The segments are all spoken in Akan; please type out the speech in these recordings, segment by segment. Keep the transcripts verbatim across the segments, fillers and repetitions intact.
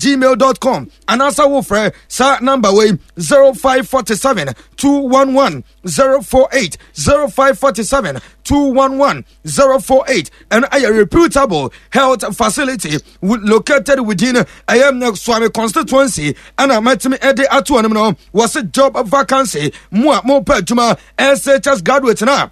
gmail dot com anaasɛ wofrɛ saa number wei zero five four seven two one one zero four eight, zero five four seven two one one zero four eight. Ɛno ɛyɛ reputable health facility located within ɛyɛ Suame constituency. Ɛna mɛtumi ɛde ato ɔnom no, wɔse job vacancy, mo a mopɛ adwuma, S H S graduate na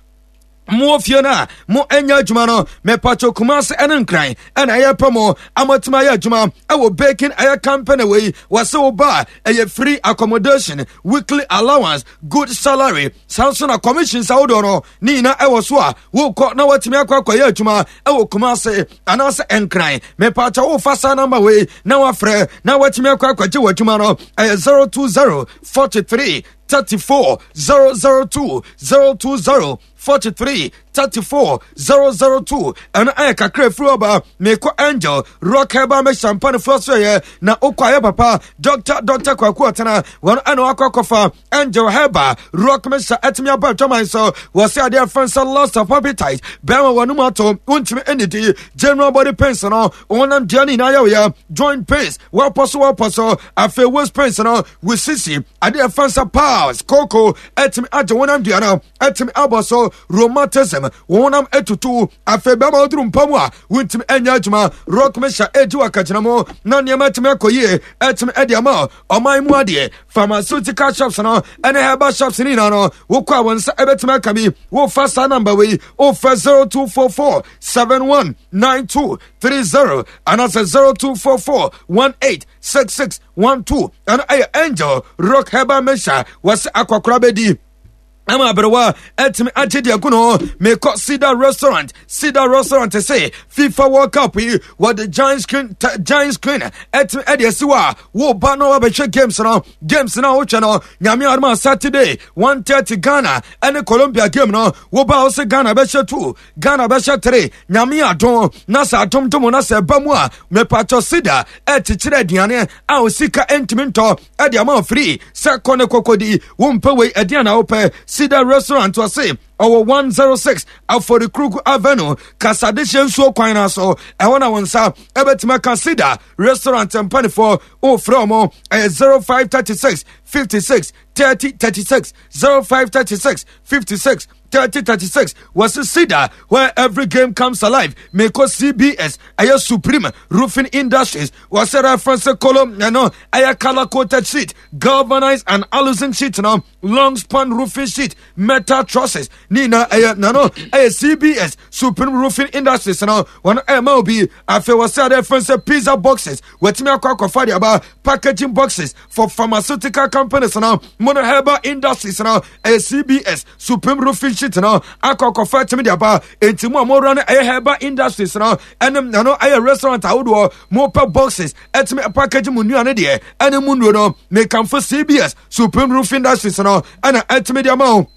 mo fie no a mo anya adwuma no, mepatwo, Kumase ɛne Nkran ɛna ɛyɛ pɛ mo amatumi ayɛ adwuma ɛwɔ baking ɛyɛ company wei. Wɔse wo ba a, ɛyɛ free accommodation, weekly allowance, good salary, saa nso na commissions ahodoɔ no ne nyinaa ɛwɔ so a wokɔ na watumi akɔ akɔyɛ adwuma ɛwɔ Kumase anaasɛ Nkran. Mepatwo, wofa saa number wei na wafrɛ na watumi akɔ akɔgye w'adwuma no, ɛyɛ zero two zero forty-three thirty-four zero zero two, zero two zero forty-three thirty-four zero zero two. Ɛno ɛyɛ kakra firi ɔba. Mekɔ Angel Rock Herbal Mixture mpanifoɔ so yɛ na wokɔ ayɛ papa Doctor Doctor Kwaku Ɔtena wɔn ɛna wakɔ akɔfa Angel Herbal Rock Mixture ɛtumi aba adwaman so. Wɔsɛ adeɛ fɛn sɛ loss of appetite, bɛrima wɔn mu ato wontumi ɛnidi, general body pains no, wɔnam dua no nyinaa yɛ wɔyɛ, joint pains, wɔpɔ so wɔpɔ so, afei waist pains no, wosisi adeɛ fɛn sɛ piles koko ɛtumi agye wɔnam dua no ɛtumi abɔ so, rheumatism, wɔnam etutu, afei bɛrima woduru mpa mu a wontumi ɛnyɛ adwuma. Rock Mixture edi wɔ akagyina mu na nneɛma ɛtumi akɔ yie, ɛtumi ɛde ama ɔman mu adeɛ. Pharmaceutical shops no ɛne herbal shops no nyinaa no, wokɔ a wɔn nsa ɛbɛtumi aka bi. Wofa saa number wei, wofa zero two four four seven one nine two three zero anaasɛ zero two four four one eight six six one two. Ɛno ɛyɛ Angel Rock Herbal Mixture. Wɔsɛ akɔkora bɛdi ama aberewa ɛtumi agye deɛ gu no. Mekɔ Cedar Restaurant. Cedar Restaurant sɛ FIFA World Cup yi, wɔde giant screen, giant screen ɛtumi ɛde asi hɔ a woba na wabɛhwɛ games no. Games no a wotwɛ no, Nyame adom a, Saturday one thirty, Ghana ɛne Colombia game no, woba wo sɛ Ghana bɛhyɛ two, Ghana bɛhyɛ three. Nyame adom na sɛ adom dom na sɛ ɛba mu a, mepatɔ, Cedar ɛkyekyerɛ aduane a osika ntumi ntɔ ɛde ama free sɛ kɔ ne kɔkɔdi. Wompɛ wei ɛdeɛn na wopɛ? Cedar Restaurant, ɔse ɔwɔ one zero six Aforikuruku Avenue, Kasadehyɛ nsuo kwan no so. Ɛhɔ na wo nsa ɛbɛtumi aka Cedar Restaurant mpanifoɔ. Wofrɛ ɔmo, ɛyɛ zero five three six fifty-six thirty thirty-six, zero five three six fifty-six thirty thirty-six. Wɔse Cedar, where every game comes alive. Meko C B S ɛyɛ Supreme Roofing Industries. Wɔsɛ reference column, ɛno ɛyɛ color coated sheet, galvanized and aluminum sheet no, long span roofing sheet, metal trusses ne nyinaa ɛyɛ nano ɛyɛ C B S Supreme Roofing Industries no wɔn ɛma obi. Afei wɔsɛ ade reference pizza boxes, wɔtumi akɔ akɔfa de aba, packaging boxes for pharmaceutical companies no, mono herbal industries no, ɛyɛ C B S Supreme Roofing sheet no akɔ akɔfa tumi de aba. Enti mu a mowura no ɛyɛ herbal industries no ɛne nano ɛyɛ restaurant ahodoɔ, mopɛ boxes ɛtumi package mu nnuane deɛ ɛne mu nnuro no, mekamfo C B S Supreme Roofing Industries no ɛna ɛtumi de ama wo.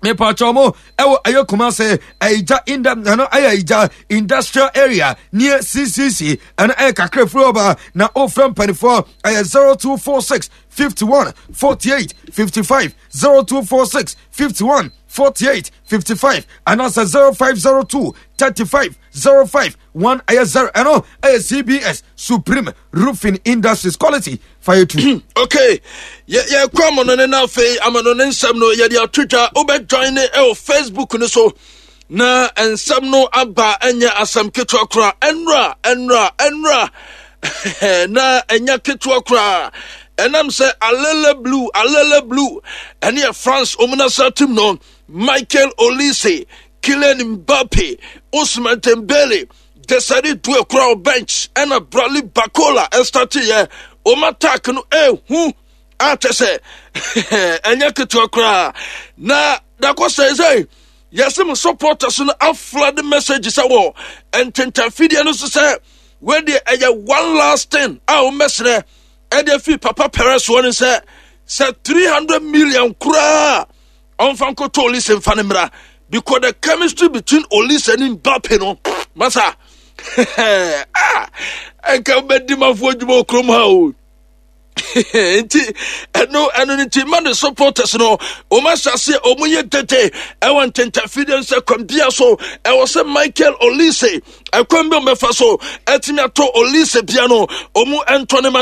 Mepatwɛ mo ɛwɔ ɛyɛ Kumase Ɛyigya inda, ɛno ɛyɛ Ɛyigya Industrial Area near C C C. Ɛno ɛyɛ kakra firi ɔba na ofrɛ mpanifoɔ, ɛyɛ zero two four six fifty-one forty-eight fifty-five, zero two four six fifty-one forty-eight fifty-five anaasɛ zero five zero two thirty-five zero five one ɛyɛ zero. Ɛno ɛyɛ C B S Supreme Roofing Industries, quality fire two. Okay, yɛkɔ amono ne no. Afei amono ne nsɛm no yɛde ato dwa. Wobɛjoin ne ɛwɔ Facebook no so na nsɛm no aba. Ɛnyɛ asɛm ketewa koraa. Ɛnora, ɛnora, ɛnora na ɛnyɛ ketewa koraa. Ɛnam sɛ Alele Blue, Alele Blue, ɛne yɛ France ɔmu national team no, Michael Olise, Kylian Mbappe, Ousmane Dembele, Desire Doue kora wɔ bench, ɛna Bradley Barcola ɛstarteɛ. Ɔmo attack no ɛhu akyɛ sɛ ɛnyɛ ketewa koraa. Na dakɔ sɛ sɛ yɛsɛ mo supporters no aflood message sɛ wɔ ntentafidie no so sɛ wɔdeɛ ɛyɛ one last thing a wɔmmɛsrɛ ɛde afi Papa Perez wɔ no sɛ sɛ three hundred million koraa ɔmfa nkɔtɔ Olise mfa no mmra, because the chemistry between Olise and Mbappe no, masa, ah, ɛnka wobɛdi mafoɔ adwuma wɔ kurom ha o. Nti ɛno ɛno no nti ma ne supporters no wɔn ahyɛ aseɛ wɔn yɛ tete ɛwɔ ntentafidie nsɛ kwan bia so ɛwɔ sɛ Michael Olise, ɛkwan bi wɔn bɛfa so ɛtumi atɔ Olise bia no, wɔn ɛntɔ ne ma ne.